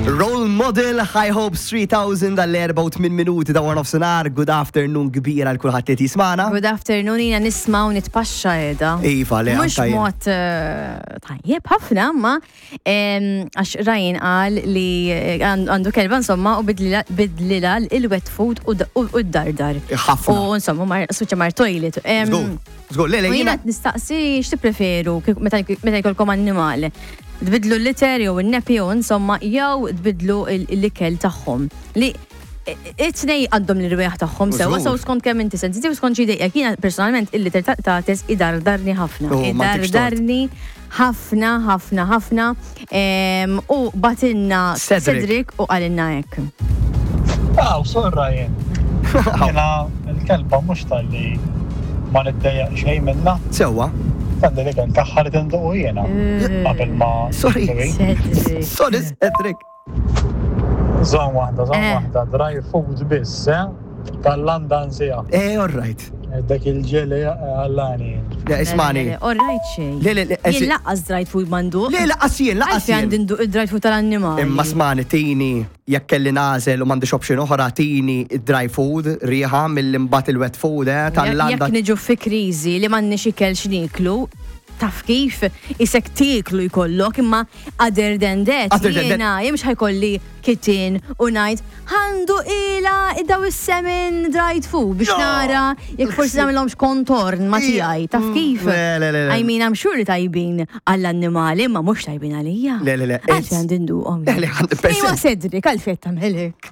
Role Model High Hopes 3000 għall-4 minuti ta' warnof senar. Good afternoon kbira għal kulħadd li jismana. Good afternoon, jina nisma u nitpaxxa edha. Iva, le, Mux anka jien. mod eh, tajjeb ħafna, ma għax Ryan qal li eh, għandu kelba insomma u bidlila il-wet food u d-dardar. Ħafna. U insomma, mar, suċa mar toilet. Żgur, żgur, le, le, U jiena jiena qed nistaqsi x'tippreferu meta jkollkom annimal. Tbidlu l-litter jew in-nappy jew insomma jew tbidlu l-ikel tagħhom. Li it-tnej għandhom l-irwieħ tagħhom sewwa Żgur. sew skont kemm inti sensitiv skont xi jdejqek. Jiena personalment il-litter ta' qtates idardarni ħafna. Oh, ma ntikx tort. Idardarni ħafna, ħafna, ħafna. U batilna Cedric. Cedric u qalilna hekk. Aw, sorra jien. Jena il-kelba mhux tal-li ma niddejjaq xejn minna. Sewwa. Għandi li kell tagħha li tinduqu jiena. Qabel ma. Sorry. Cedric. Sorry, Cedric. Żomm waħda, żomm Eh. waħda, dry food biss, eh? Tal-landa nsija. Eh, all right. Dak il-ġeli għallani. Le, ismani. All right xejn. Le, le, le, Jien laqqas dried food mandu. Le, laqqas jien, laqqas Għalfejn għandi jien. nduq id-dried food tal-annimali. Imma smani, tini, jekk kelli nażel u m'għandix option oħra, tini dry food, riħa mill-imbat il-wet food, eh, tal-landa. Jekk niġu fi kriżi li m'għandniex ikel x'niklu, taf kif isek tieklu jkollok imma other than that Other than that- jiena jien mhux ħajkolli kitin u ngħid ħandu ila daw is-semen dried food biex No! nara jekk forsi nagħmilhomx kontorn ma tiegħi taf kif. Le, le, le, le. I mean I'm sure li tajbin għall-annimali imma mhux tajbin għalija. Le, le, le, Għalfejn it's- għandi nduqhom. Le, le, 100%. Iwa Cedric, għalfejn tagħmel hekk.